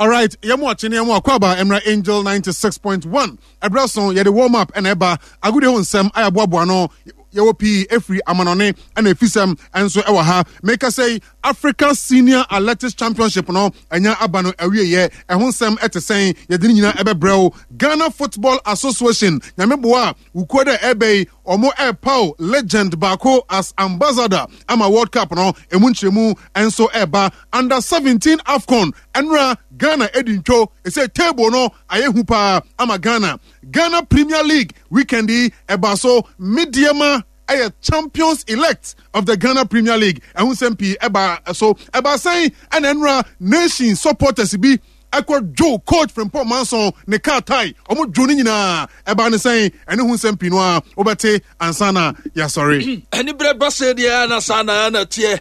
Alright, yɛn mu akye ne yɛn mu akɔ aba mmerɛ Angel 96.1 ɛberɛ so yɛde warm up ɛna ɛba agodie ho nsɛm a yɛaboaboa no yɛwɔ pii ɛfiri amanɔne ɛna ɛfisɛm ɛnso ɛwɔ ha meka sɛ Africa Senior Athletics Championship no ɛnya aba no awieɛ ɛho nsɛm ɛte sɛn yɛde ne nyinaa ɛbɛbrɛ wo Ghana Football Association nyame boa a wukuo dɛ ɛbɛ yi ɔmo ɛrepaw legend baako as ambassador ama World Cup no emu nkyerɛmu nso ɛreba Under 17 AFCON ɛnora Ghana edi ntwo ɛsɛ table no ayɛ hu paa ama Ghana Ghana Premier League weekend yi ɛba so Medeama ɛyɛ champions elect of the Ghana Premier League ɛho nsɛm pii ɛba so ɛba sɛn ɛna ɛnora nation supporters bi ɛkɔ dwo coach Frimpong Manson ne car tie ɔmo dwo ne nyinaa ɛba ne sɛn ɛne ho nsɛm pii no a wobɛte ansa na yɛasɔre. Aniberɛ ba sɛ deɛ na saa na na teɛ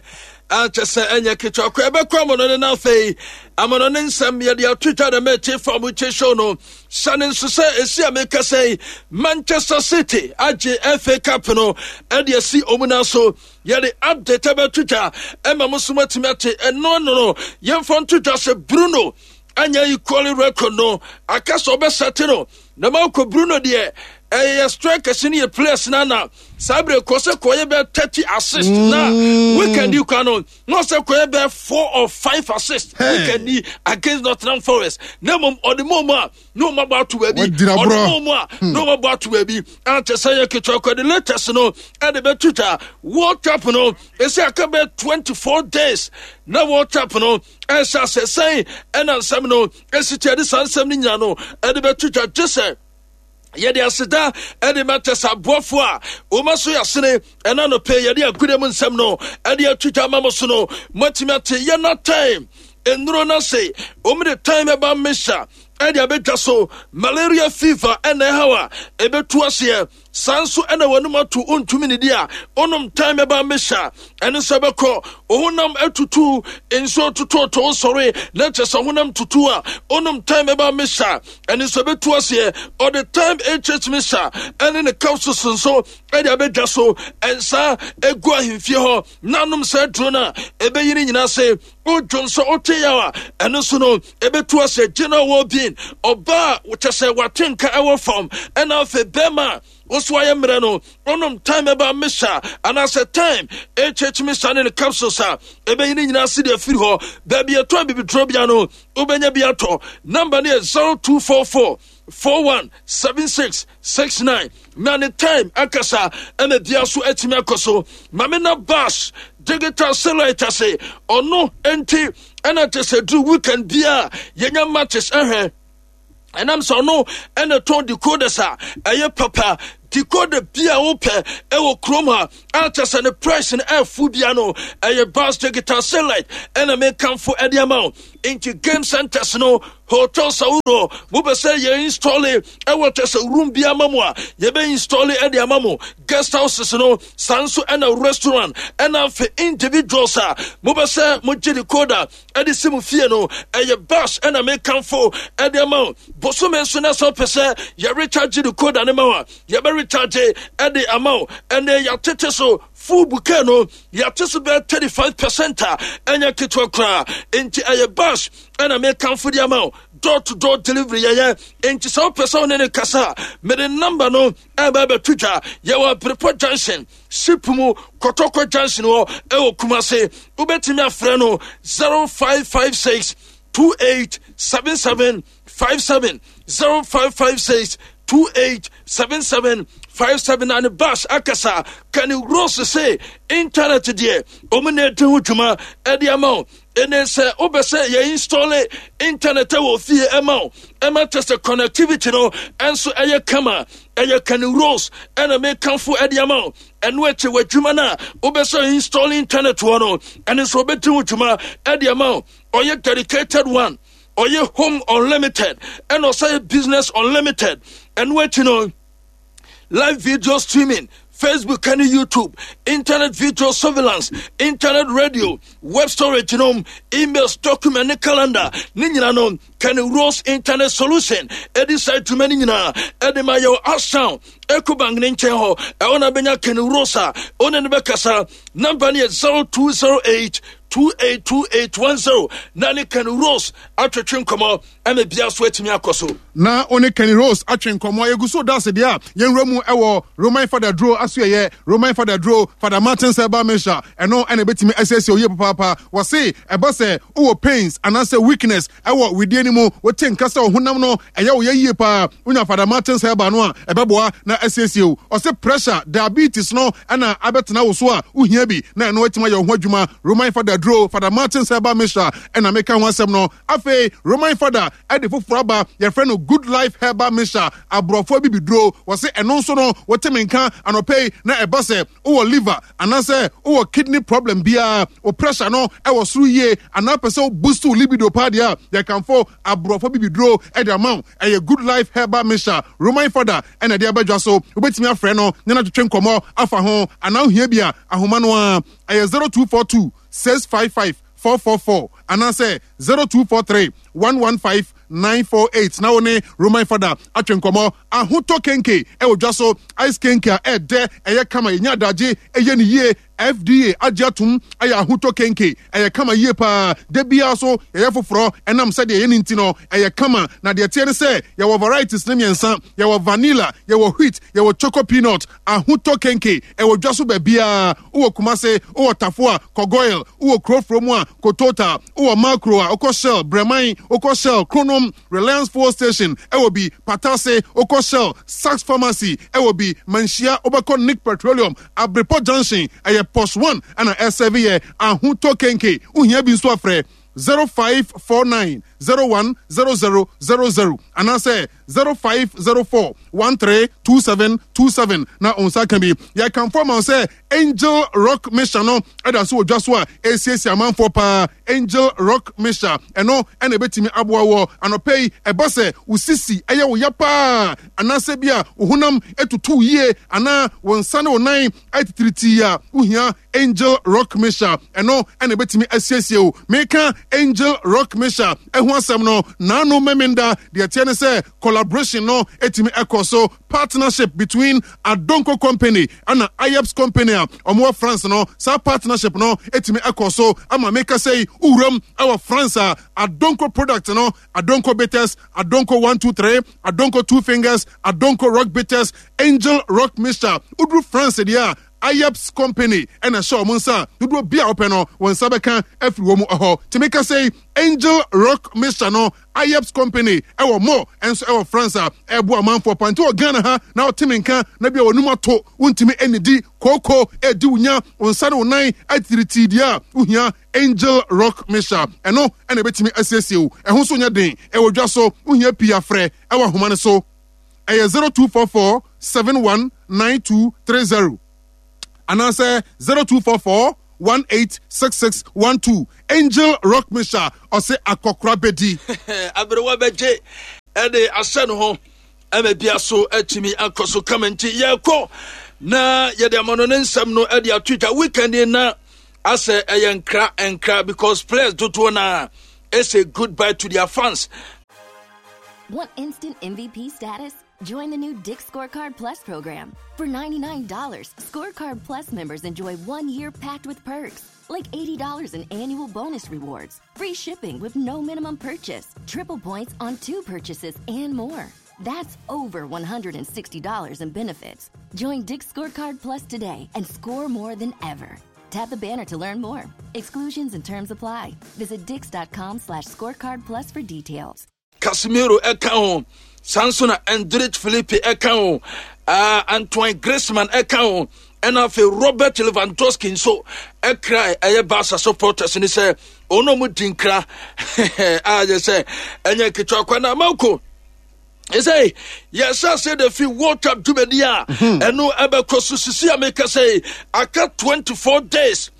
ankyɛ sɛ ɛnyɛ ketewa kɔ ɛbɛkɔ amono ne na afei amono ne nsɛm yɛde ato twa dɛ mɛte fa mo kye show no sane nso sɛ ɛsi a meka sɛ Manchester City agye FA Cup no ɛde asi ɔmu na so yɛde update ɛbɛto twa ɛma mo so matumi ate ɛno ano no yɛmfa nto twa sɛ Bruno anya equally record no aka sɛ ɔbɛsɛte no na Marco Bruno deɛ ɛyɛ strikers no yɛ players no ana saa berɛ kɔ sɛ kɔyɛ bɛ 30 assist na weekend yi kwa no na ɔsɛ kɔyɛ bɛ 4 or 5 assist weekend yi against Nottingham Forest na mmom ɔde mu a na ɔma bɔ ato baabi ɔde mu a na ɔma bɔ ato baabi akyɛ sɛ yɛ ketewa kɔ de latest no ɛde bɛto twa World Cup no ɛsɛ aka bɛ 24 days na World Cup no ɛhyɛ asɛ sɛn ɛna nsɛm no ɛsi kyɛ de saa nsɛm no nyina no ɛde bɛto dwa gye sɛ yɛde aseda ɛde ma kyɛ sɛ aboafoɔ a wɔma so yɛasene ɛna nɔpɛ yɛde agude mu nsɛm no ɛde ato dwa ma mo so no moatumi ate yɛna time nnuro no ase wɔn de time ɛba mmesa ɛde abɛdwa so malaria fever ɛna ɛhaw a ɛbɛtu aseɛ Saa nso na w'anom ato ontumi nidi a onom tan bɛba mmesa ɛno nso ɛbɛkɔ ohonam atutu nsuo totɔɔtɔ wosɔre na kyɛ sɛ honam tutu a onom tan bɛba mmesa ɛno nso ɛbɛtu aseɛ ɔde time hh mesa ɛne ne capsules nso ɛde abɛdwa so ɛnsa egu ahemfie hɔ na anom saa aduro no a ɛbɛyi ne nyinaa se wodwo nso wote yaw a ɛno nso no ɛbɛtu ase general well-being ɔbaa kyɛ sɛ wate nka ɛwɔ fam ɛna afei bɛrima a woso ayɛ mmerɛ no wonom time ɛba mesa anaasɛ time hh mesa ne ne capsules a ɛbɛyi ne nyinaa se deɛ afiri hɔ baabi ɛtɔ abibiduro bia no wobɛnya bi atɔ namba no yɛ 0244 417669 na ne time akasa ɛna bia so atumi akɔ so mame na bas digital satellite ase ɔno nti ɛna te sɛ duru weekend bia yɛnya matches ɛhwɛ ɛnam sɛ ɔno ɛna tɔn decoders a ɛyɛ papa decoder bi a wopɛ ɛwɔ kurom ha a kyɛ sɛ ne price no ɛfo bia no ɛyɛ bas digital satellite ɛna mekamfo ɛde ama wo nti game centers no hotels ahodoɔ mopɛ sɛ yɛ install ɛwɔ kyɛ sɛ room bi ama mo a yɛbɛ install ɛde ama mo guest houses no saa nso ɛna restaurant ɛna afei individuals a mopɛ sɛ mogye decoder ɛde si mo fie no ɛyɛ bus ɛna mekamfo ɛde ama wo bosome nso na sɛ wopɛ sɛ yɛ recharge decoder no ma wo a yɛbɛ recharge ɛde ama wo ɛnɛ yɛatete so full bouquet no yɛate so bɛyɛ 35 percent a ɛnyɛ ketewa koraa nti ɛyɛ bus ɛna mekamfo de ama wo door to door delivery yɛyɛ nti sɛ wopɛ sɛ wo ne ne kasa a mede number no ɛba bɛto dwa yɛwɔ Abrepɔ junction ship mu kɔtɔkɔ junction hɔ ɛwɔ Kumase wobɛtumi afrɛ no 0556 2877 57 0556 2877 57 na ne bas akasa kane rose se internet deɛ ɔmu na ɛdi ho dwuma ɛde ama wo ɛne sɛ wopɛ sɛ yɛ install internet wɔ fie ɛma wo ɛma kyɛ sɛ connectivity no ɛnso ɛyɛ kama ɛyɛ kane rose ɛna mekamfo ɛde ama wo ɛno akyi w'adwuma no a wobɛ sɛ install internet wɔ no ɛne nso wobɛdi ho dwuma ɛde ama wo ɔyɛ dedicated one ɔyɛ home unlimited ɛna ɔsɛ yɛ business unlimited ɛno akyi no live video streaming facebook ne youtube internet video surveillance internet radio web storage nom emails document ne calendar ne nyina no kane rose internet solution ɛde saa adwuma no nyinaa ɛde ma yɛwɔ asound ecobank ne nkyɛn hɔ ɛwɔ na bɛnya kane rose a ɔne no bɛkasa number no yɛ 0208. 282810 na ne Kenny Rose atwetwe nkɔmmɔ ɛna bia so atumi akɔ so. Na wo ne Kenny Rose atwe nkɔmmɔ. Yɛgu so da ase deɛ a yɛnwura mu wɔ Roman Fada Duro asoɛyɛ. Roman Fada Duro, Fada Martins Herbal Mixture, ɛno ɛna ɛbɛtumi asiesie wo yie papaapa. Wɔse ɛba sɛ wowɔ pains anaasɛ weakness ɛwɔ wedeɛ no mu, wote nka sɛ wo honam no ɛyɛ wo yɛ yie paa, wonya Fada Martins Herbal no a, ɛbɛboa na asiesie wo. Ɔse pressure, diabetes no ɛna abɛtena wo so a, wohia bi na ɛno atumi ayɛ wo ho adwuma. Roman Fada Duro, Fada Martins Herbal Mixture ɛna meka ho asɛm no. Afei Roman fada de foforɔ aba, yɛfrɛ no Good Life Herbal Mixture, aborɔfo abibiduro. Wɔse ɛno nso no, wote me nka anɔpa yi na ɛba sɛ wowɔ liver anaasɛ wowɔ kidney problem biara, wo pressure no ɛwɔ soro yie anaa pɛ sɛ wo boost wo libido paa deɛ a, yɛkamfo aborɔfo abibiduro de ama wo. Ɛyɛ Good Life Herbal Mixture, Roman fada ɛna ɛde aba dwa so. Wobɛtumi afrɛ no ne no atwetwe nkɔmmɔ afa ho anaa wohia bi a, ahoma no ara ɛyɛ 0242 655 444 anaasɛ 0243 115 948 na wo ne Roman Fada atwe nkɔmmɔ. Ahotɔ kenke ɛwɔ dwa so, ice kenke a ɛɛdɛ, ɛyɛ kama, yɛnya adagye, ɛyɛ ne yie. FDA agye atom ayɛ ahotɔ kenke, ɛyɛ kama yie paa. Da biara so yɛyɛ foforɔ, ɛnam sɛdeɛ ɛyɛ no nti no, ɛyɛ kama. Na deɛ ɛteɛ ne sɛ yɛwɔ varieties no mmiɛnsa, yɛwɔ vanilla, yɛwɔ wheat, yɛwɔ choco peanut. Ahotɔ kenke ɛwɔ dwa so baabiara. Wowɔ Kumase, wowɔ Tafo a, kɔ Goil. Wowɔ Kurofuro mu a, kɔ Total. Wowɔ Makro a, wokɔ Shell. Brɛman, wokɔ Shell. Kronom, Reliance Fuel Station ɛwɔ bi. Patase, wokɔ Shell. Sachs Pharmacy ɛwɔ bi. Manhyia, wobɛkɔ Nick Petroleum. Abrepɔ Junction, ɛyɛ Posh One ɛna ɛsɛve yɛ. Ahotɔ kenke, wohia bi nso a frɛ 0549 01 00 00 anaasɛ 0504 132727 na wo nsa ka bi. Yɛkamfo ama wo sɛ Angel Rock Mixture no ɛda so wɔ dwa so a ɛresiesie amanfoɔ paa. Angel Rock Mixture ɛno ɛna ɛbɛtumi aboa wɔ anɔpa yi. Ɛba sɛ wo sisi ɛyɛ wo ya paa anaasɛ bi a wo honam ɛtutu yie anaa wo nsa ne wo nan atitiritii a, wohia Angel Rock Mixture ɛno ɛna ɛbɛtumi asiesie wo. Meka Angel Rock Mixture ɛho asɛm no naano Memenda. Deɛ ɛteɛ ne sɛ collaboration no ɛtumi ɛkɔ so, partnership between Adonko Company ɛna Ayeps Company a wɔwɔ France no. Saa partnership no ɛtumi ɛkɔ so ama meka sɛ yi wowuram ɛwɔ France a, Adonko product no, Adonko Bitters, Adonko 123, Adonko Two Fingers, Adonko Rock Bitters, Angel Rock Mixture, woduru France deɛ a, Ayeps Company ɛna ɛhyɛ wɔn nsa a dodoɔ bi a wɔpɛ no wɔn nsa bɛka afiri wɔn hɔ. Tumi ka sɛ Angel Rock Mixture no, Ayeps Company ɛwɔ mo nso ɛwɔ France a ɛboa amanfoɔ pa. Nti wɔ Ghana ha na ɔte me nka na bi a wɔnum ato wontumi ɛnidi kooko ɛdi wo nya wo nsa ne wo nan atiritii deɛ a wohia Angel Rock Mixture ɛno ɛna ɛbɛtumi asiesie wo. Ɛho nso nyɛ den, ɛwɔ dwa so, wohia pii afrɛ ɛwɔ ahoma no so. Ɛyɛ 0244 719230 anaasɛ 0244 186612. Angel Rock Mixture ɔse akɔkora bɛdi. Aberewa bɛgye ɛde ahyɛ ne ho ɛma bia so atumi akɔ so kama. Nti yɛkɔ na yɛde amano ne nsɛm no ɛde ato dwa. Weekend na asɛ ɛyɛ nkra nkra because players dodoɔ na ɛsɛ goodbye to their fans. Want instant MVP status? Join the new Dick's Scorecard Plus program. For $99, Scorecard Plus members enjoy 1 year packed with perks, like $80 in annual bonus rewards, free shipping with no minimum purchase, triple points on two purchases, and more. That's over $160 in benefits. Join Dick's Scorecard Plus today and score more than ever. Tap the banner to learn more. Exclusions and terms apply. Visit dicks.com/scorecard plus for details. Casemiro ɛka ho, saa nso na Endrick Felipe ɛka ho, Antoine Griezmann ɛka ho, ɛna afei Robert Lewandowski nso ɛkra ɛyɛ Barca supporters ne sɛ ɔno ɔmo di nkra a yɛ sɛ ɛnyɛ nketewa kwa na amanko ɛsɛ yɛhyɛ ase de fi World Cup dwumadi a ɛno ɛbɛkɔ so sisi a meka sɛ aka 24 days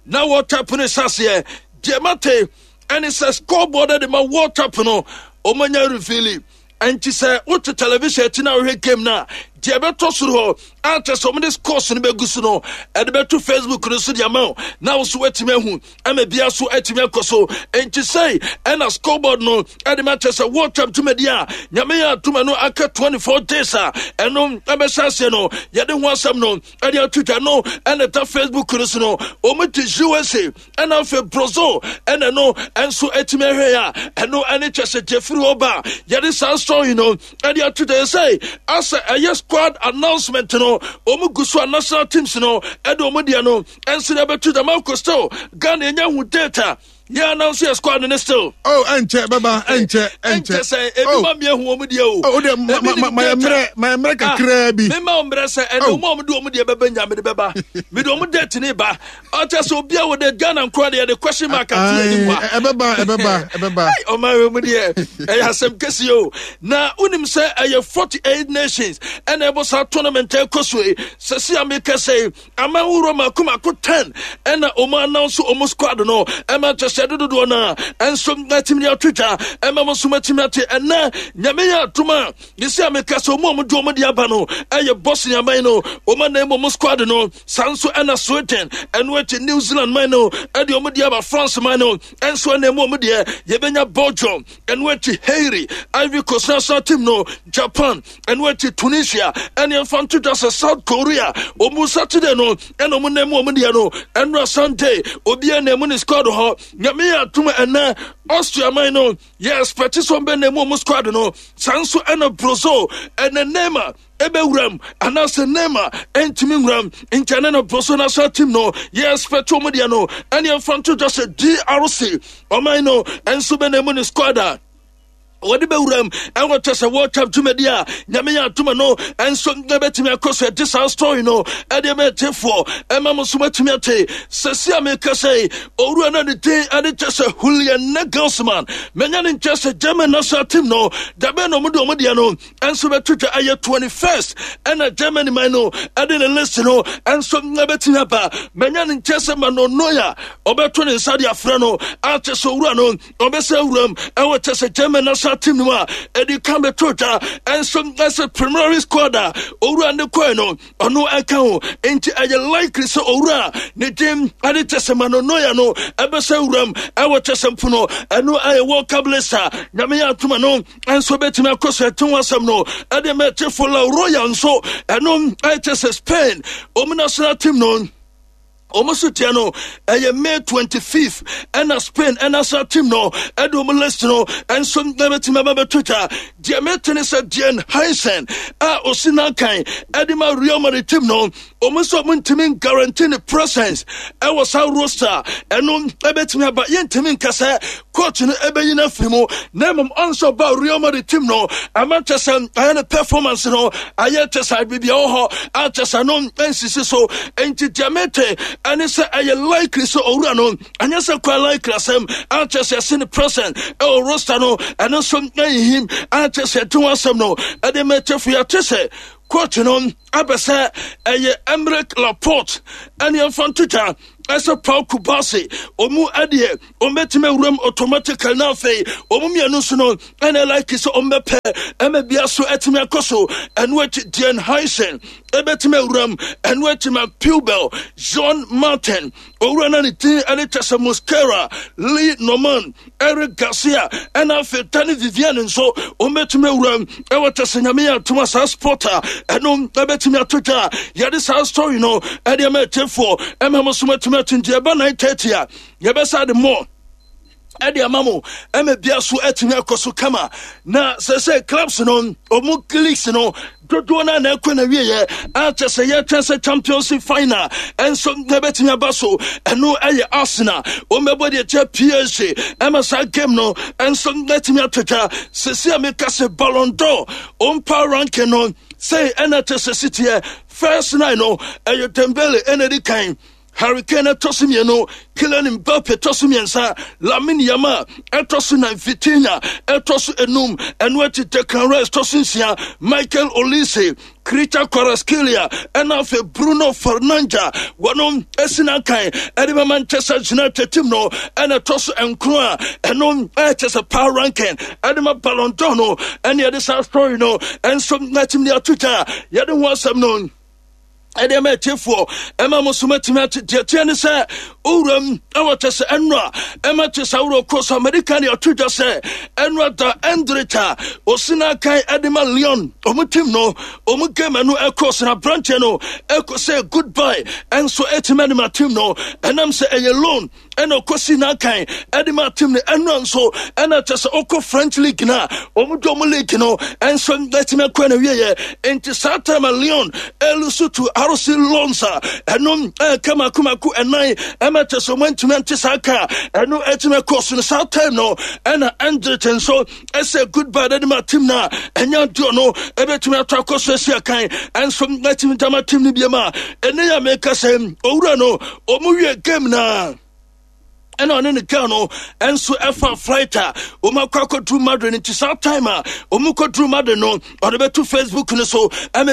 na World Cup no hyɛ aseɛ. Deɛ mate ɛne sɛ scoreboard de ma World Cup no ɔmanya reveal, ɛnti sɛ wote television akyi na wohwɛ game no a, Deɛ ɛbɛtɔ soro hɔ a kyerɛ sɛ wɔde scores no bɛgu so no, ɛde bɛto Facebook no so de ama wo na wo so woatumi ahu ama bia so atumi akɔ so. Enti sei ɛna scoreboard no ɛde ma kyerɛ sɛ World Cup dwumadi a Nyame yɛ adom ɛno aka 24 days a ɛno ɛbɛhyɛ aseɛ no, yɛde ho asɛm no ɛde ato dwa no ɛna ɛda Facebook no so no. Wɔn de USA ɛna afei Brazil ɛna ɛno ɛnso atumi ahwɛ a ɛno ɛne kyerɛ sɛ deɛ firi hɔ ba yɛde saa story no ɛde ato dwa sɛ asɛ ɛyɛ squad announcement no wɔn gu so a national teams no ɛde wɔn deɛ no ɛnso de abɛto dwa. Marco, still Ghana ɛnya hu date a yɛ announce yɛ squad no still. Oh, ɛnkyɛ bɛba, ɛnkyɛ, ɛnkyɛ. Ɛnkyɛ sɛ ebi ma mi ehu wɔn deɛ o. Oh, de ma ma ma yɛ mmerɛ, ma yɛ mmerɛ kakraa bi. Mi ma wɔn mmerɛ sɛ ɛnna wɔn a wɔn de wɔn deɛ bɛbɛ nya mi de bɛba, mi de wɔn date ne ba. Ɔkyɛ sɛ obi a wɔ de Ghana nkoa deɛ de question mark ato anim wa. Ɛbɛba, ɛbɛba, ɛbɛba. Ɔman wɔ mu deɛ ɛyɛ asɛm kɛseɛ o. Na wonim sɛ ɛyɛ 48 nations ɛna ɛbɔ saa tournament ɛkɔ so yi. Sɛsi a meka sɛ aman wuro mako mako 10 ɛna ɔmo announce ɔmo squad no, ɛma kyɛ sɛ dododoɔ no a ɛnso atumi de ato dwa ɛma mo nso matumi ate. Ɛnɛ Nyame yɛ adom a yɛsi a meka sɛ ɔmo a ɔmo de ɔmo de aba no ɛyɛ Bosnia man no, ɔmo anan mu ɔmo squad no. Saa nso ɛna Sweden, ɛno akyi New Zealand man no ɛde ɔmo de aba, France man no ɛnso ɛna mu ɔmo deɛ. Yɛbɛnya Belgium, ɛno akyi Haiti, Ivory Coast national team no, Japan, ɛno akyi Tunisia, ɛne ɛmfa nto dwa sɛ South Korea ɔmo Saturday no ɛna ɔmo nam mu ɔmo deɛ no. Ɛnora Sunday obiara na mu ne squad hɔ. Nyame yɛ atom ɛnɛ Austria man no yɛ expect sɛ ɔmbɛ na mu ɔmo squad no. Saa nso ɛna Brazil ɛnɛ Neymar ɛbɛwuram anaasɛ Neymar ɛntumi nwuram, nti ɛne no Brazil national team no yɛ expect ɔmo deɛ no. Ɛne ɛmfa nto dwa sɛ DRC ɔman no ɛnso bɛ na mu ne squad a wɔde bɛwuram ɛwɔ kyɛ sɛ World Cup dwumadi a Nyame yɛ adoma no ɛnso na bɛtumi akɔ so. Ɛde saa story no ɛde mɛtefoɔ ɛma mo nso matumi ate. Sɛsi a meka sɛ owura no ne din ɛde kyɛ sɛ Julian Nagelsmann, manya ne nkyɛ sɛ German national team no dabɛn na ɔmo de ɔmo deɛ no ɛnso bɛto dwa. Ɛyɛ 21st ɛna Germany man no ɛde ne list no ɛnso ɛbɛtumi aba. Manya ne nkyɛ sɛ Manuel Neuer ɔbɛto ne nsa de afrɛ no akyɛ sɛ owura no ɔbɛsɛ wuram ɛwɔ kyɛ sɛ German national team no mu a ɛdi kan bɛto dwa ɛnso ɛsɛ preliminary squad a owura ne kɔɛ no ɔno ɛka ho, nti ɛyɛ likely sɛ owura ne din ɛde kyɛ sɛ Manuel Neuer no ɛbɛsɛ wuram ɛwɔ kyɛ sɛ mpono ɛno ɛyɛ World Cup list a Nyame yɛ atoma no ɛnso bɛtumi akɔ so. Ɛte ho asɛm no ɛde mɛtefo La Royal nso ɛno ɛkyɛ sɛ Spain ɔmu national team no wɔn so teɛ no ɛyɛ May 25th ɛna Spain national team no ɛde wɔn list no ɛnso ɛbɛtumi aba bɛto twa. Deɛ mete ne sɛ Dean Huijsen a osi n'akan ɛde ma Real Madrid team no, wɔn nso wɔn ntumi guarantee ne presence ɛwɔ saa roster ɛno ɛbɛtumi aba. Yɛntumi nka sɛ coach no ɛbɛyi no afiri mu, na mmom ɔnso ba Real Madrid team no ama kyɛ sɛ ayɛ ne performance no ayɛ kyɛ sɛ biribi ɛwɔ hɔ akyɛ sɛ no nsisi so. Nti deɛ mete ɛne sɛ ɛyɛ likely sɛ owura no ɛnyɛ sɛ kwa likely asɛm akyɛ sɛ ɛse ne present ɛwɔ roster no ɛno nso ɛyihim akyɛ sɛ ɛte ho asɛm no ɛde mɛkyɛfo. Yɛte sɛ coach no abɛ sɛ ɛyɛ Emerick Laporte ɛne ɛmfa ntotwa ɛsɛ Paul Kubase ɔmu ɛdeɛ ɔmbɛtumi awuram automatically, na afei ɔmu mmienu nso no ɛna like sɛ ɔmbɛpɛ ɛma bia so ɛtumi akɔ so. Ɛno akyi Dean Huijsen ɛbɛtumi awuram, ɛno akyi Marc Pubill, Jean Martin, owura no ne din ɛne kyɛ sɛ Mosquera, Lee Norman, Eric Garcia, ɛna afei Dani Vivian nso ɔmbɛtumi awuram ɛwɔ kyɛ sɛ Nyame yɛ atoma saa sport a ɛno ɛbɛtumi ato dwa a yɛde saa story no ɛde ɛma ɛtiefoɔ ɛma mo so matumi ato. Nti ɛba 9:30 a yɛbɛsa de more ɛde ama mo ɛma bia so atumi akɔ so kama. Na sɛ clubs no ɔmo leagues no dodoɔ no a na ɛkɔ na wieɛ akyɛ sɛ yɛtwɛn sɛ Champions League final ɛnso na ɛbɛtumi aba so. Ɛno ɛyɛ Arsenal ɔmbɛbɔ deɛ kyɛ PSG ɛma saa game no ɛnso na ɛtumi ato dwa. Sɛsi a meka sɛ Ballon d'Or ɔmpa ranking no sɛ ɛna kyɛ sɛ siteɛ first nine no ɛyɛ Dembele ɛna ɛdi kan. Harry Kane ɛtɔ so mmienu, Kylian Mbappe ɛtɔ so mmiɛnsa, Lamine Yamal ɛtɔ so nan, Vitinha ɛtɔ so enum, ɛno akyi Declan Rice tɔ so nsia, Michael Olise, Khvicha Kvaratskhelia ɛna afei Bruno Fernandes wɔnom esi n'akan ɛde ma Manchester United team no ɛna ɛtɔ so nkron a ɛno ɛkyɛ sɛ power ranking ɛde ma Ballon d'Or no ɛne ɛde saa story no ɛnso n'akyim de ato gya yɛde ho asɛm no ɛde ɛma atiefoɔ ɛma mo so matumi ate deɛ teɛ ne sɛ owuram ɛwɔ kyɛ sɛ ɛnora ɛma kyɛ sɛ aworɔ kɔ so amerika ne ato dwa sɛ ɛnora da ɛndret a ɔsi no akan ɛde ma leon ɔmo tim no ɔmo game ɛno ɛkɔ so na aberanteɛ no ɛkɔ sɛ goodbye ɛnso ɛtumi ɛde ma tim no ɛnam sɛ ɛyɛ loan ɛna ɔkɔsi n'akan ɛde ma team no ɛnora nso ɛna kyɛ sɛ ɔkɔ French league no a wɔn de wɔn league no ɛnso ɛtumi akɔ na wieɛ nti saa time a Lyon ɛlusu to RC Lens a ɛno ɛka mako mako ɛnan ɛma kyɛ sɛ wɔn antumi ante saa ka ɛno ɛtumi akɔ so no saa time no ɛna Endrit nso ɛsɛ goodbye de ma team no a ɛnyɛ adeɛ no ɛbɛtumi atɔ akɔ so asi akan ɛnso ɛtumi dama team no biam a ɛne yɛ meka sɛ owura no ɔmu wie game na ɛna ɔne ne girl no nso ɛfa flight a wɔn akɔ akɔduru Madrid nti saa time a wɔn kɔduru Madrid no ɔde bɛto Facebook no so ɛmɛ.